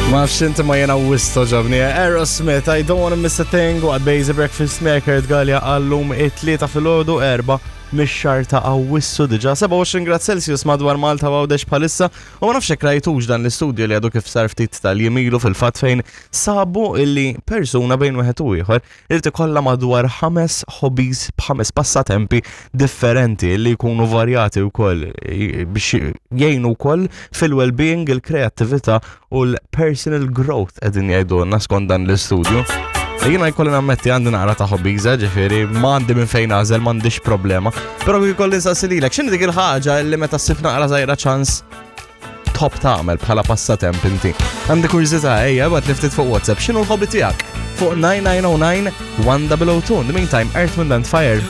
Ma nafx inti ma jena wisq togħġobni. Aerosmith, I Don't Wanna Miss a Thing, waqt Bejzi Breakfast Maker Gallia għallum it-tlieta filgħodu erba' mix-xahar ta' Awwissu diġà 27 grad Celsius madwar Malta u Għawdex bħalissa u ma nafx jekk rajtux dan l-istudju li għadu kif sar ftit tal-jiem ilu fil-fatt fejn sabu illi persuna bejn wieħed u ieħor irid ikollha madwar ħames hobbies b'ħames passatempi differenti li jkunu varjati wkoll biex jgħinu wkoll fil-well-being, il-kreattività u l-personal growth qegħdin jgħidulna skont dan l-istudju. Jiena jkolli nammetti għandi naqra ta' hobbies, eh, ġifieri ma għandi minn fejn għażel, m'għandix problema. Però jkolli nsaqsi lilek, x'inhi dik il-ħaġa li meta ssib naqra żgħira ċans tħobb tagħmel bħala passatemp inti. Għandi kurżità ejja ibgħat li ftit fuq WhatsApp x'inhu l-hobby tiegħek fuq 9909 1002. In the meantime, Earth, Wind and Fire.